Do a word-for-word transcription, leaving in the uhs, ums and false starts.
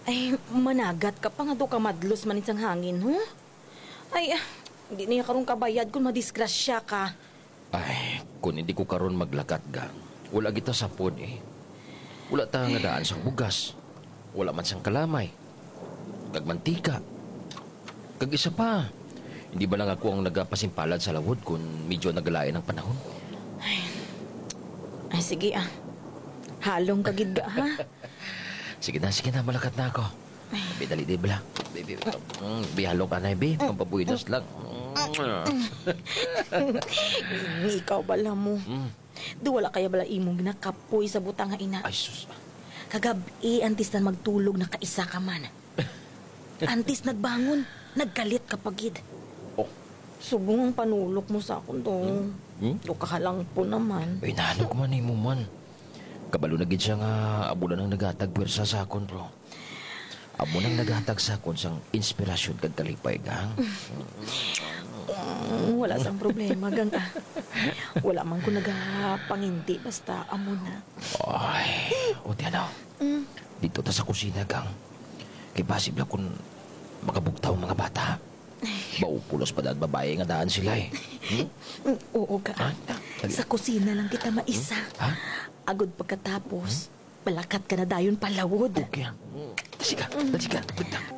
Ay, managat ka pa nga do ka madlos man sang hangin, ho? Ay, ah, di niya karon kabayad kung madisgrasya ka. Ay, kung hindi ko karon maglakat, gang, wala kita sapon, eh. Wala ta nga daan sang bugas. Wala man sang kalamay. Kag mantika. Kag isa pa, hindi ba lang ako ang nagapasimpalad sa lawod kung medyo nagalain ang panahon? Ay, sige, ah. Halong ka gid ka, ha? Sige na, sige na, malakat na ako. Bi, dali, di bala. Bi, bi, mm, bi, halong ka na, bi. Pampabuhidos lang. Mm. Ikaw bala mo. Mm. Do wala kaya bala imong nakapoy sa butang nga ina? Ay, sus. Kagab-i, antes na magtulog, nakaisa ka man. Antes nagbangon, nagkalit ka pa gid. Oh. Subong ang panulok mo sa akon, do. Hmm? Hmm? Do kahalang po naman. Ay, nahanok man nimo man. Kabalo na gid siya nga amo na ang naghatag pwersa sa akon, bro. Amo nang naghatag sa akon sang inspirasyon kag kalipay, gang. Mm, wala sang problema, gang, ah. Wala man ko nagapangindi, basta amo na. Ay, o, di ano? Mm. Dito ta sa kusina, gang. Kay posible kung makabugtaw ang mga bata. Maupulos pa daan babae nga daan sila, eh. Hmm? Mm, oo, ka. Ah, dali. Sa kusina lang kita maisa. Hmm? Ha? Agod pagkatapos, balakat ka na dayon palawod. Okay, ah. Sige, sige, sige.